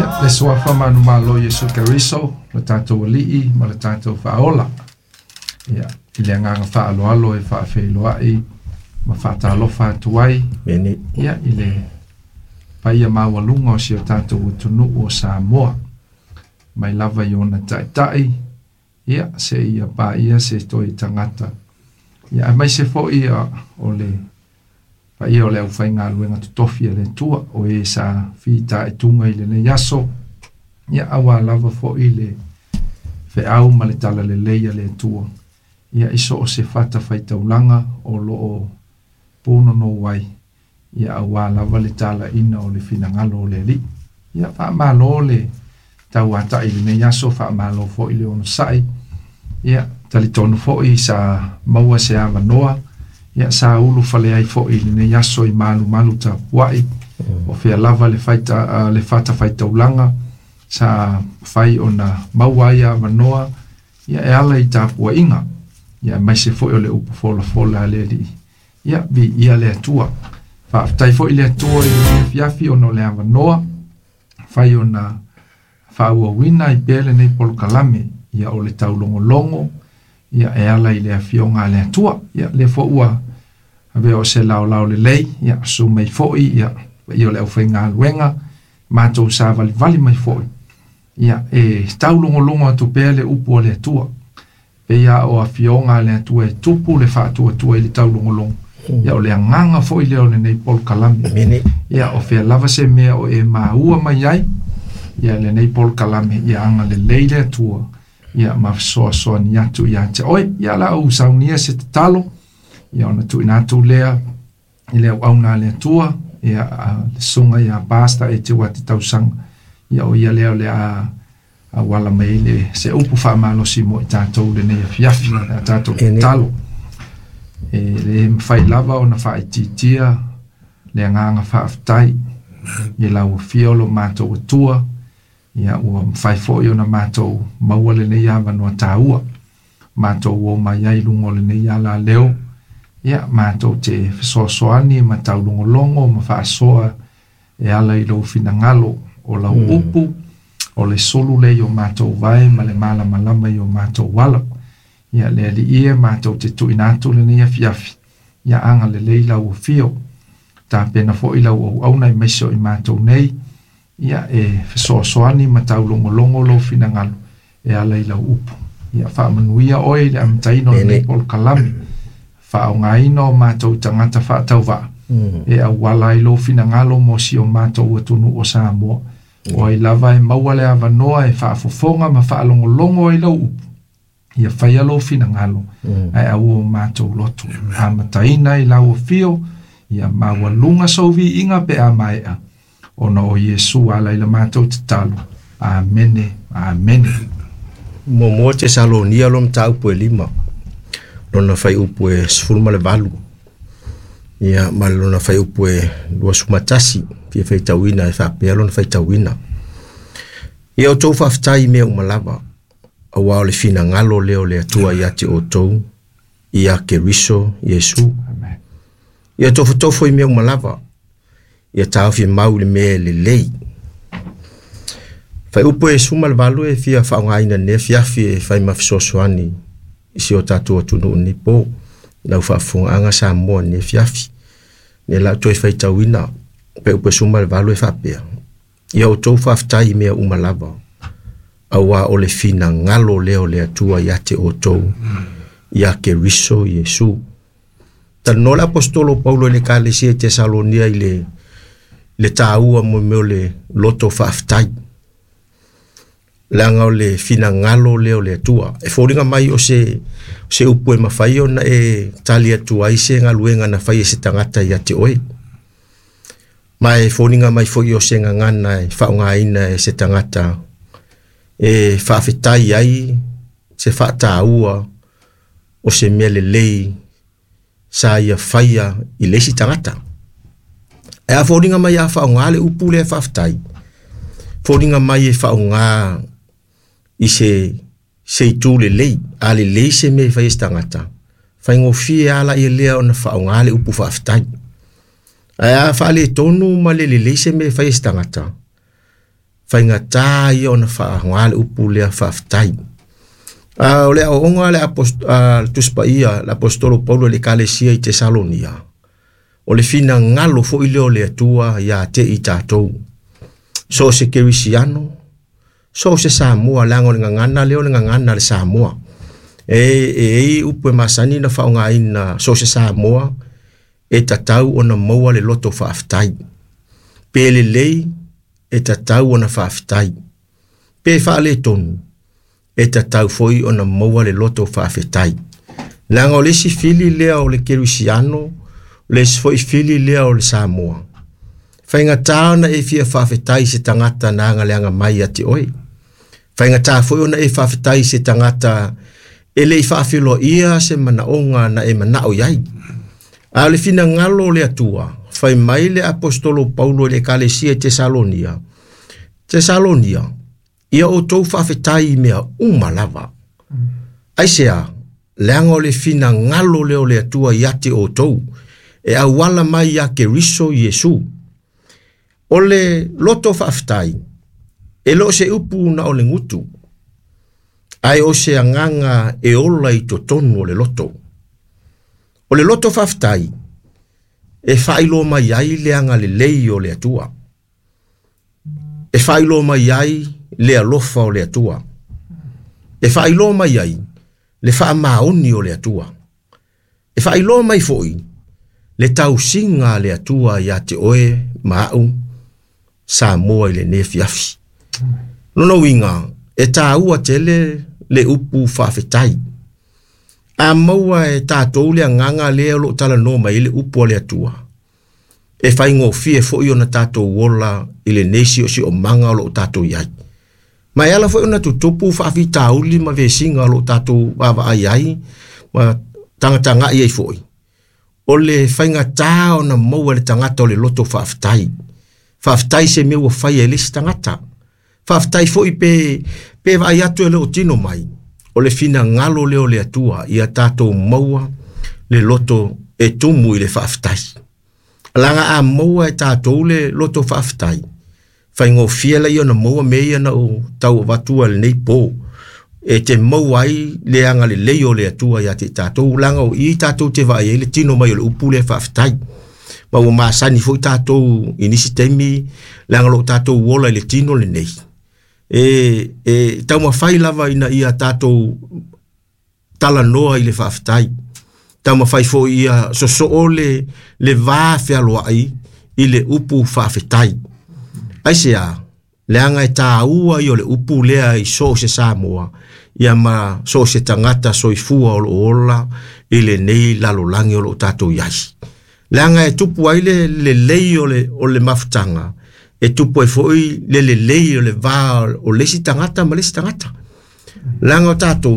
Ia, le suafa manumalo o Iesu Keriso, lo tatou Alii ma le tatou Faaola. Ia, i le agaga faaaloalo e faafeiloai ma faatalofa atu ai. Mene. Ia, i le paia maualuga o si o tatou atunuu o Samoa. Mai lava i ona taitai, ia, seia paia se toe tagata. Ia, aemaise foi o le paia o le aufaigaluega totofi a le Atua, o e sa fitaituga i lenei aso, ia, aua lava foi le feau ma le talalelei a le Atua, ia, i so o se fatafaitaulaga o lo o punonou ai, ia, aua lava le talaina o le finagalo o le Alii. Ia, faamalo le tauatai i lenei aso, faamalo foi le onosai. Ia, talitonu foi sa maua se avanoa, ia, sa ulufale ai foi i lenei aso i malumalu tapuai, o fea lava le faita, le fatafaitaulaga sa fai ona maua ai avanoa, ia, e ala i tapuaiga, ia, aemaise foi o le upu folafola a le Alii. Ia, viia le Atua. Faafetai foi le Atua i lenei afiafi ona o le avanoa fai ona faaauauina ai pea lenei polokalame, ia, o le taulogologo, ia, e ala i le afioga a le Atua. Ia, lea foi ua avea o se laolao lelei, ia, susu mai foi, ia, paia o le aufaigaluega, matou savalivali mai foi, ia, e taulogologo atu pea le upu a le Atua. Pei lava o afioga a le Atua e tupu le faatuatua i le taulogologo. Ia, o le agaga foi lea o lenei polokalame. Amene. Ia, o fea lava se mea o e maua mai ai, ia, lenei polokalame, ia agalelei le Atua, ia, ma fesoasoani atu ia te oe. Ia, la ou saunia se tatalo, ia, ona tuuina atu lea i le auauna a le Atua, ia, le susuga ia Pastor Eteuati Tausaga, ia, o ia lea o le a auala mai ai le se upu faamalosi mo i tatou lenei afiafi, a tatou tatalo. E le mafai lava ona faaitiitia le agaga faafetai i lau afio o lo matou Atua, ia, ua mafai foi ona matou maua lenei avanoa taua, matou o mai ai i luga o lenei alaleo, ia, matou te fesoasoani ma taulogologo ma faasoa e ala i lou finagalo, o lau upu, o le sulu lea i o matou vae ma le malamalama i o matou ala. Ia, le Alii e, matou te tuuina atu lenei afiafi, ia agalelei lau afio, tapena foi lau auauna aemaise o i matou nei, ia, e fesoasoani ma taulogologo lou finagalo e ala i lau upu. Ia, faamanuia oe i le amataina o lenei polokalame, faaaogaina o matou tagata faatauvaa, e auala ai lou finagalo mo si o matou atunuu o Samoa. O ai lava e maua le avanoa e faafofoga ma faalogologo ai lau upu, ia faia lou finagalo, ae aua o matou loto. Amataina i lau afio, ia maualuga sou viiga pe a maea, ona o Iesu ala i la matou tatalo. Amene, amene. Muamua Tesalonia lo mataupu e 5, lona fuaiupu e 18, ia, ma lona fuaiupu e 21, fia faitauina e faapea lona faitauina. Ia outou faafetai i mea uma lava, aua o le finagalo lea o le Atua ia te outou, ia Keriso Iesu. Amen. Ia tofotofo i mea uma lava, ia taofi mau i le mea e lelei. Fuaiupu e 18 e fia faaaogaina nei afiafi e fai ma fesoasoani i si o tatou atunuu nei po, lau faafofogaaga Samoa nei afiafi. Nei la toe faitauina, fuaiupu e 18 e faapea, ia outou faafetai i mea uma lava, aua o le finagalo lea o le Atua ia te outou, ia Keriso Iesu. Talanoa le apostolo Paulo i le ekalesia i Tesalonia i le taua mo mea o le loto faafetai. Leaga o le finagalo lea o le Atua. E foliga mai o se upu e mafai ona e tali atu ai se galuega na fai e se tagata ia te oe. Ma e foliga mai foi o se gagana e faaaogaina e se tagata e faafetai ai se faataua o se mea lelei sa ia faia i le isi tagata. E a foliga mai a faaaoga le upu lea faafetai, foliga mai e faaaoga i se itu lelei, a lelei se mea e fai e se tagata, faigofie ala ia lea ona faaaoga le upu faafetai. Ae a faaletonu ma le lelei se mea e fai e se tagata, Faigata ia ona faaaoga le upu lea faafetai. A o le aoaoga le Tusi Paia le Aposetolo Paulo i le Ekalesia i Tesalonia, o le finagalo foi lea o le Atua ia te i tatou. So o se kerisiano, so o se Samoa, leaga o le gagana lea o le gagana a le Samoa. E i ai upu e masani ona faaaogaina, so o se Samoa e tatau ona maua le loto faafetai. Pe lelei e tatau ona faafetai. Pe faaletonu e tatau foi ona maua le loto faafetai. Leaga o le isi fili lea o le kerisiano, o le isi foi fili lea o le Samoa. Faigata ona e fia faafetai i se tagata na agaleaga mai ia te oe. Faigata foi ona e faafetai i se tagata e le i faafeiloaia se manaoga na e manao i ai. A o le finagalo o le Atua, fai mai le Aposetolo Paulo i le Ekalesia i Tesalonia, Tesalonia, ia outou faafetai i mea uma lava. Aisea, leaga o le finagalo lea o le Atua ia te outou, e auala mai ia Keriso Iesu. O le loto faafetai, e le o se upu na o le gutu, ae o se agaga e ola i totonu o le loto. O le loto faafetai, e faailoa mai ai le agalelei o le Atua. E faailoa mai ai le alofa o le Atua. E faailoa mai ai le faamaoni o le Atua. E faailoa mai foi le tausiga a le Atua ia te oe ma au Samoa i lenei afiafi. Lona uiga, e taua tele le upu faafetai. A maua e tatou le agaga lea o lo o talanoa mai ai le upu a le Atua, e faigofie foi ona tatou ola i lenei siosiomaga o lo o tatou i ai. Ma e ala foi ona tutupu faafitauli ma vesiga o lo o tatou vaavaai ai ma tagatagai ai foi, o le faigata ona maua e le tagata o le loto faafetai. Faafetai i se mea ua faia e le isi tagata. Faafetai foi pe vaai atu e le o tino mai, o le finagalo lea o le Atua ia tatou maua le loto e tumu i le faafetai. Leaga a maua e tatou le loto faafetai, faigofie laia ona maua mea ia na ou tau avatua i lenei po, e te maua ai le agalelei o le Atua ia te i tatou, leaga o i tatou te vaai ai le tino mai o le upu lea faafetai. Ma ua masani foi tatou i nisi taimi, leaga o lo o tatou ola i le tino lenei. E taumafai lava ina ia tatou talanoa i le faafetai. Taumafai foi ia sosoo le va fealoai i le upu faafetai. Aisea, leaga e taua ia o le upu lea i so o se Samoa, ia ma so o se tagata soifua o lo o ola i lenei lalolagi o lo o tatou i ai. Leaga e tupu ai le lelei o le mafutaga, e tupu ai foi le lelei o le va o le isi tagata ma le isi tagata. Leaga o tatou,